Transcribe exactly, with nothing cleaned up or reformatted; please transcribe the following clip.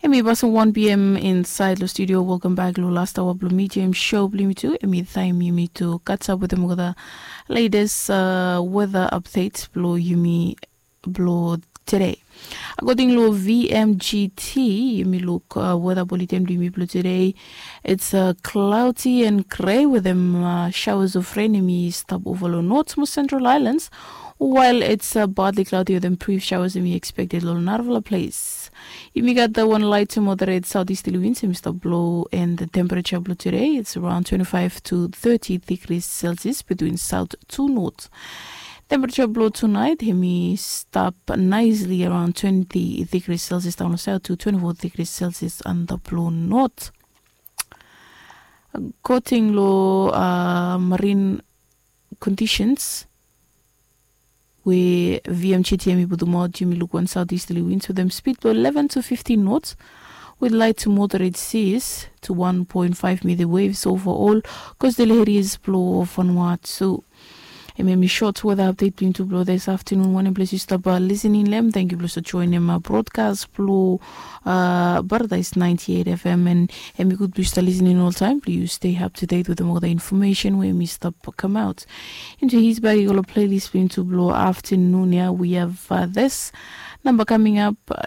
Mi pasin wan pm insaed long studio. Welkam bek long last aoa blong mi, James, show blong yumi tu. Em i taem yumi tu katsap wetem olgeta letes weta apdet blong yumi blong tede. Akoding long vmgt, yumi luk weta buleten blong yumi blong tede. It's cloudy and grey wetem showers of rain em i stap ova long north most central islands, while it's partly cloudy wetem brief showers em i expected long narafala ples. Yumi gat wan light to moderate southeasterly winds em i stap blo, and the temperature blong tede it's around twenty-five to thirty degrees Celsius between south to north. Temperature blong tonight em i stap nicely around twenty degrees Celsius down south to twenty-four degrees Celsius on the blue north. According long marine conditions we vmgt em i putumaot, yumi luk wan southeasterly winds wetem speed blong eleven to fifteen knots with light to moderate seas to one point five meter waves overall. Coastal areas blong Vanuatu. Em em i short weather update blong yumi tu blong this afternoon. Wanem ples yu stap listening long em, thank yu blong yu joinim broadcast blong Paradise ninety-eight F M, and em i gud blong yu stap listening oltaem blong yu stay up to date wetem olgeta information we em i stap come out into his bag i go long playlist blong yumi tu blong afternoon ya. We have this number coming up.